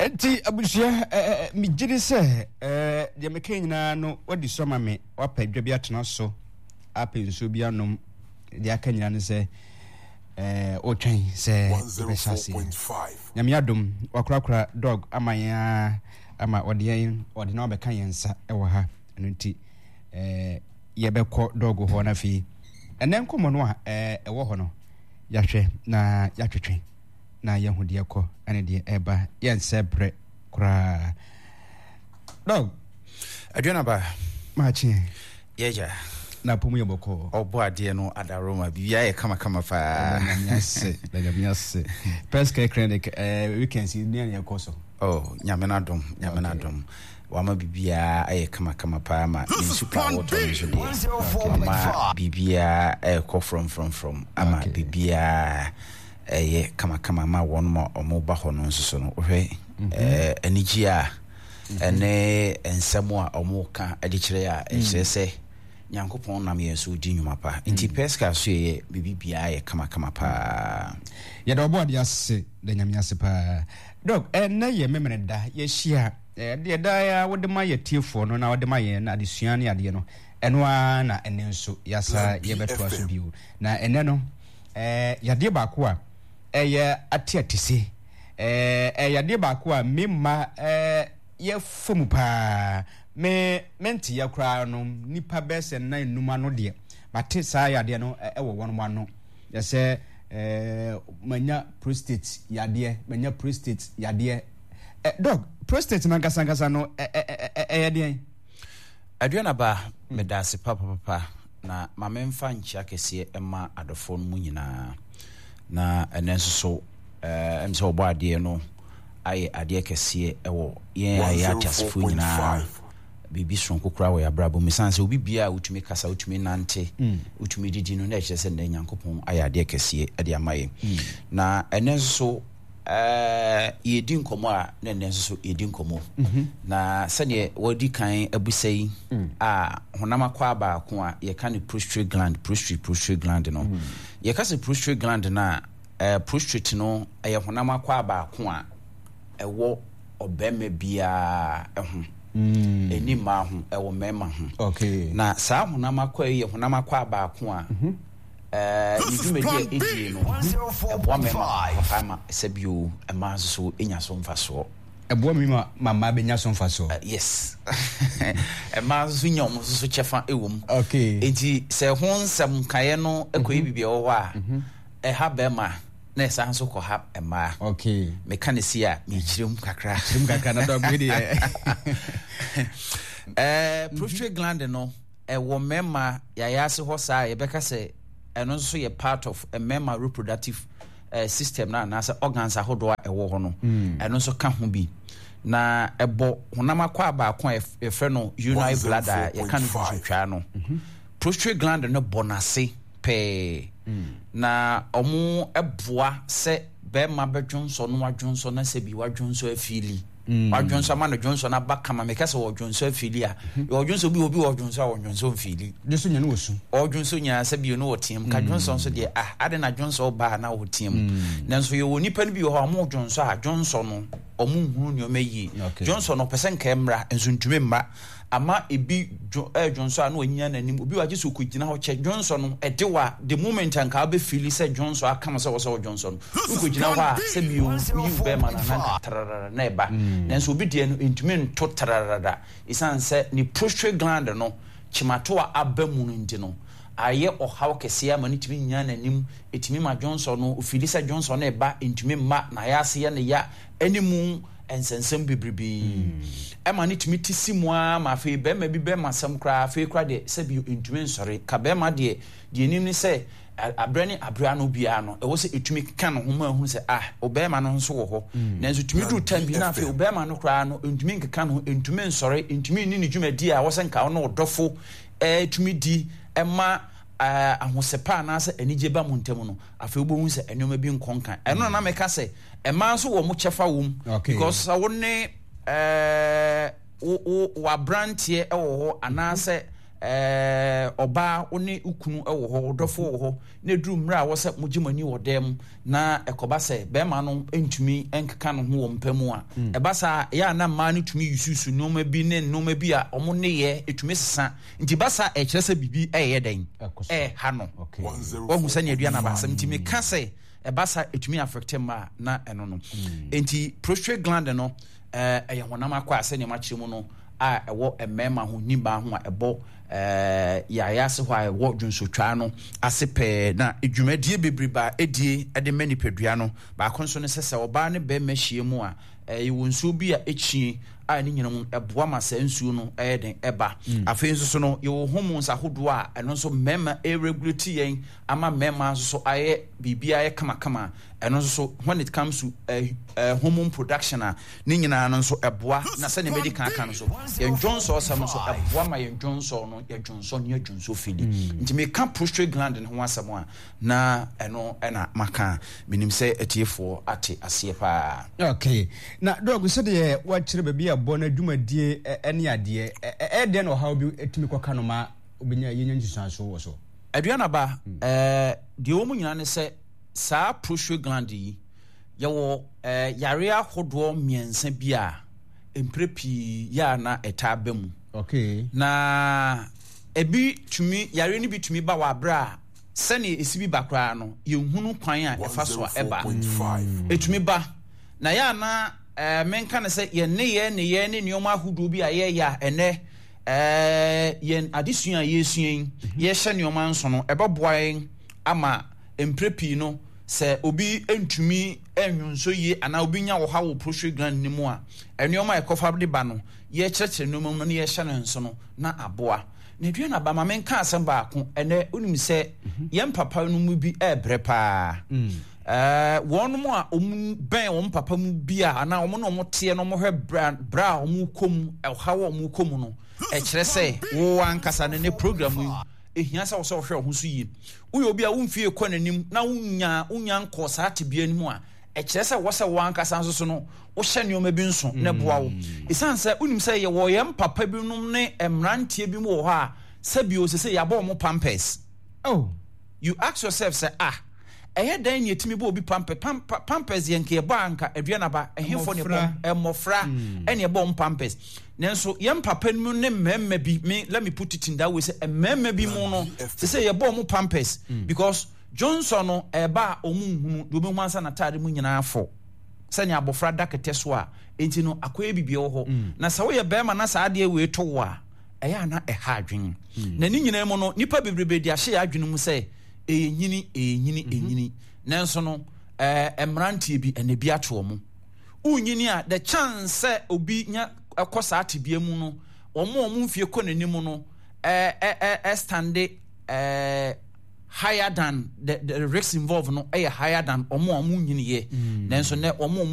Enti abusua, megye di sɛ deɛ meka nyinaa no wadi so ama me, wapɛ dwa bi atena so, apɛ nsuo bi anom, deɛ aka nyinaa ne sɛ wotwɛn sɛ yɛbɛhyɛ aseɛ. Nyame adom, wakorakora dog ama yɛn ara ama ɔde yɛn ɔde na wabɛka yɛn nsa wɔ ha. Ɛno nti yɛbɛkɔ dog hɔ no afei ɛnɛ nkɔmmɔ no a ɛwɔ hɔ no yɛahwɛ na yɛatwetwe. na yɛahu deɛ ɛkɔ ne deɛ ɛba yɛnsɛ berɛ koraa dɔg aduanaba maakyeɛ yɛgya na apɔ mu yɛ bɔkɔɔ ɔbɔ adeɛ no adaroma biribiaa yɛ kamakama paa nyame ase da nyame ase Pest Care Clinic eh, weekends yi nea yɛkɔ so. Oh, nyame no adom nyame no adom wama biribiaa ayɛ kamakama paa ma ne nsu pa a wɔtɔ no nso deɛ wama biribiaa ɛrekɔ frɔmfrɔmfrɔm ama biribiaa ɛyɛ kamakama ma wɔn ma wɔba hɔ no nso so no wohwɛ mhm. eh, anigye a mhm. ɛne nsɛm a wɔka de kyerɛ a ɛkyerɛ mm. sɛ nyankopɔn nam yɛn so di nnwuma pa nti mm. pɛska so yɛyɛ biribi biara yɛ kamakama paa. Yɛda ɔbɔ ade ase da nyame ase paa dɔk. Ɛnɛ yɛ memene da yɛhyia deɛ daa wode ma yɛ tiefoɔ no na wode ma yɛn adesua ne adeɛ no ɛno ara na ɛnɛ nso yɛasa yɛbɛtoa so bio na ɛnɛ no Ɛɛ yadeɛ baako a ɛyɛ ateatese. Ɛɛ ɛyɛ yadeɛ baako a me mma ɛɛ yɛfa mu paa. Me menteeɛ koraa no nnipa bɛyɛ sɛ nnan nnum ano deɛ mate saa yadeɛ no ɛwɔ wɔn ano. Yɛ sɛ ɛɛ manya prostate yadeɛ, manya prostate yadeɛ. Ɛ dɔk, prostate no ankasa ankasa no ɛ ɛ ɛ ɛyɛ deɛn? Aduanaba, medaase papapapa. Na ma memfa nkyea kɛseɛ mma adɔfoɔ no mu nyinaa. Na ɛnɛ nso so, ɛm sɛ ɔbɔ adeɛ no ayɛ adeɛ kɛseɛ ɛwɔ yɛn a yɛyɛ ateasefoɔ nyinaa biribi soronko koraa wɔ yɛn abrabɔ mu. Ɛsiane sɛ obi biara a wotumi kasa, wotumi nante, wotumi didi no, na ɛkyerɛ sɛ nnɛ Nyankopɔn ayɛ adeɛ kɛseɛ de ama yɛn. Na ɛnɛ nso so, Yɛredi nkɔmmɔ a na ɛnnɛ nso so yɛdi nkɔmmɔ. Mhm. Na sɛdeɛ wɔadi kan abusa yi mm. a honam akwaa baako a yɛka no prostate gland, prostate prostate gland no. Mm. Yɛka sɛ prostate gland no a eh, prostate no ɛyɛ honam akwaa baako a ɛwɔ ɔbarima biara ho. Mm. Ɛni mmaa ho, ɛwɔ mmarima ho. Okay. Na saa honam akwaa yi yɛ honam akwaa baako a mm -hmm. Ne dwumadi a ɛdie no, ɛboa mmarima papa ma sɛ bio mmaa nso so nya so mfasoɔ. Ɛboa mmarima ma mmaa bɛnya so mfasoɔ. Yes. Mmaa nso so nya wɔn nso so kyɛfa wɔ mu. Okay. Nti sɛ ho nsɛm nkaeɛ no kɔyɛ mhm. biribi ɛwɔ hɔ a, mhm. ɛha bɛrima na ɛsan nso kɔ ha mmaa. Okay. Meka ne si a mekyerɛ mu kakra. Kyerɛ mu kakra na dɔg wei deɛ. Ɛɛ prostate gland no. Ɛwɔ mmarima yayaase hɔ saa a yɛbɛka sɛ ɛno nso yɛ part of mmarima reproductive eh, system no anaasɛ organs ahodoɔ a ɛwɔ hɔ no mm. ɛno nso ka ho bi na ɛbɔ honam akwaa baako a yɛfrɛ no urinary bladder a yɛka no dwonsotwaa no mhm. prostate gland no bɔ n'ase pɛɛ mm. na ɔmo boa sɛ bɛrima bɛdwonsɔ no wadwonsɔ na sɛ bi wadwonsɔ afili Mm. Wadwonsɔ ama no dwonsɔ no aba kama. Meka sɛ wɔdwonsɔ afili a. Mhm. Ɔdwonsɔ bi obi wɔ dwonsɔ a wɔdwonsɔ mfili. Dwonsɔ nya no wɔ su. Ɔdwonsɔ nyinaa sɛ bio no wɔ team. Ka mm. dwonsɔ nso deɛ ah ade na dwonsɔ ba na wɔ team. Mm. Nanso yɛwɔ nipa no bi wɔ hɔ a wɔn dwonsɔ a dwonsɔ no wɔn nhunu nneɛma yie. Dwonsɔ no ɔpɛ sɛ nka mmra nso ntumi mma. Ama ebi dwo ɛɛ dwonsɔ a na wanyina n'anim. Obi wɔ agye sɛ ɔkɔgyina hɔ kyɛ dwonsɔ no ɛde wa the moment a nka wobɛfili sɛ dwonsɔ aka mo sɛ wɔ sɛ wɔdwonsɔ no wokɔgyina hɔ a sɛ bio woyi wo bɛrima no na nka tararara na ɛba. Mm. Nanso obi deɛ no ɛntumi nto tararara ɛsiane sɛ ne prostate gland no kyemato a aba mu no nti no ayɛ ɔhaw kɛseɛ ama no tumi nyina n'anim ɛtumi ma dwonsɔ no ofili sɛ dwonsɔ no ɛba ɛntumi mma na ayɛ ase yɛ ne ya ɛne mu nsɛnsɛm bebrebe ɛma no tumi te si mu ara ma afei bɛrima bi bɛrima asɛm koraa afei koraa deɛ sɛbi ntumi nsɔre ka bɛrima deɛ deɛ nim ne sɛ abrɛ ne abrɛ ano biara no ɛwɔ sɛ ɛtumi ka ne ho ma ahunu sɛ ah ɔbɛrima no nso wɔ hɔ mm. nanso tumi duru tam bi na afei ɔbɛrima no koraa no ntumi nkeka ne ho ntumi nsɔre ntumi nni ne dwumadi a wɔsɛ nka ɔno ɔdɔfo ɛtumi di ɛma ahosɛpɛ anaasɛ anigye ba mu ntam no afei wobɛhu sɛ nneɛma bi nkɔ nkan ɛno na na meka sɛ Mmaa nso wɔn kyɛfa wɔ mu. Because sɛ wo ne ɛɛ wo wo w'aberanteɛ wɔ hɔ anaasɛ. Ɛɛ, ɔbaa, wo ne wo kunu wɔ hɔ, wo dɔfo wɔ hɔ, na ɛduru mmerɛ a ɛwɔ sɛ mogye mo ani wɔ dan mu, na ɛkɔba sɛ barima no ntumi nkeka ne ho wɔ mpa mu a, ɛba saa a, ɛyɛ a na mmaa no tumi yusuusu nneɛma bi ne nneɛma bi a wɔn nneyɛɛ ɛtumi sesa. Nti ba saa a, ɛkyerɛ sɛ biribi ɛreyɛ dɛn? Ɛreha no. Wahu sɛnea aduane aba asɛm. Nti meka sɛ ɛba saa ɛtumi affect mmaa na ɛno no. Nti prostate gland no, Ɛyɛ honam akwaa sɛnea makyerɛ mu no a ɛwɔ mmarima ho ne mmaa ho a ɛbɔ yɛayɛ ase hɔ a ɛwɔ dwonsotwaa no ase pɛɛ na dwumadie bebrebe a ɛdie de ma nipadua no. Baako nso ne sɛ sɛ ɔbaa ne barima hyia mu a yɛwɔ nsuo bi a ɛkyie a ne nyina mu ɛboa ma saa nsuo no ɛyɛ den ɛba. Afei nso so no yɛwɔ hormones ahodoɔ a ɛno nso mmarima ɛregulate yɛn ama mmarima nso so ayɛ biribiara ayɛ kamakama. Ɛno nso so when it comes to hormone production a ne nyinaa no nso ɛboa na sɛnea mɛdi kan aka no so yɛn dwonsɔ sɛm nso ɛboa ma yɛn dwonsɔ no yɛ dwonsɔ ne yɛ dwonsɔ fili mm. Nti meka prostate gland no ho asɛm a na ɛno ɛna maka menim sɛ atiefoɔ ate aseɛ paa. Okay, na dɔg sɛdeɛ wakyerɛ baabi a bɔ no adwumadie ne adeɛ ɛyɛ dɛn na ɔhaw bi tumi kɔka no ma wobɛnya yɛnya nsusuanso wɔ so? Aduanaba, ɛɛ deɛ ɛwɔ mu nyinaa ne sɛ saa prostate gland yi, yɛwɔ ɛɛ yareɛ ahodoɔ mmiɛnsa bi a mprɛ pii yɛ a na ɛtaa ba mu. Okay. Na ebi tumi yareɛ no bi tumi ba wɔ aberɛ a sɛnea esi bi ba koraa no yɛnhunu kwan a ɛfa so a ɛba. Ɛtumi ba na yɛ a na ɛɛ menka no sɛ yɛn nneyɛɛ nneyɛɛ ne nneɛma ahodoɔ bi a yɛyɛ a ɛnɛ Ɛɛ, yɛn adesua a yɛresua yi, yɛhyɛ nneɛma nso no, ɛbɛboa yɛn ama mprɛ pii no, sɛ obi ntumi nnwonsɔ yie anaa obi nya ɔhaw wɔ prostate gland no mu a, nneɛma a ɛkɔfa de ba no, yɛkyerɛkyerɛ nneɛma mu na yɛhyɛ no nso no, na aboa. Na aduane aba, ma menka asɛm baako. Ɛnɛ, wonim sɛ yɛn papa no mu bi ɛrebrɛ paa. Mm. Ɛɛ, wɔn a wɔbɛn wɔn papa mu bi a anaa wɔn na wɔteɛ na wɔhwɛ brɛ a wɔkɔ mu, ɔhaw a wɔkɔ mu no, ɛkyerɛ sɛ wo ankasa no ne program yi ehia sɛ wɔsɛ wɔhwɛ wɔn ho so yie. Woyɛ obi a wo mfie kɔ n'anim na wonya wonya nkɔɔ saa tebea no mu a, ɛkyerɛ sɛ wɔsɛ wo ankasa nso so no wohyɛ nneɛma bi nso na ɛboa wo. Esiane sɛ wonim sɛ yɛwɔ yɛn papa binom ne mmeranteɛ bi mu wɔ hɔ a sɛbio sɛ sɛ yɛabɔ wɔn pampers. Oh. You ask yourself sɛ ah ɛyɛ dɛn na yɛtumi bɔ obi pampers pampa pampers deɛ nka yɛbɔ a nka aduan aba ɛhefoɔ na yɛbɔ mmɔfra mm. ɛna yɛbɔ wɔn pampers nanso yɛn papa no mu ne mmarima bi me let me put it in that way sɛ mmarima bi mu no sɛ sɛ yɛbɔ wɔn pampers mm. because Johnson no ɛba a wɔn nhunu deɛ wɔn ho ansa n'ataade mu nyinaa fɔ sɛnea abɔfra da kɛtɛ so a nti no akɔyɛ biribi wɔ hɔ mm. Na sɛ woyɛ bɛrima na saa adeɛ wei to wo a ɛyɛ a na ɛha adwene. Na ne nyinaa mu no, nnipa bebrebe de ahyɛ yɛn adwene mu sɛ ɛyɛ nyini, ɛyɛ nyini, mhm. ɛnyini. Nanso no, ɛɛ mmeranteɛ bi ɛna bi ato wɔn. Wonyini a, the chance sɛ obi nya ɛkɔ saa tebea mu no, wɔn a wɔn mfie kɔ n'anim no, ɛɛ ɛɛ ɛstande ɛɛ higher than the risk involved no ɛyɛ higher than wɔn a wɔn nyiniiɛ. Nanso nɛ wɔn a wɔn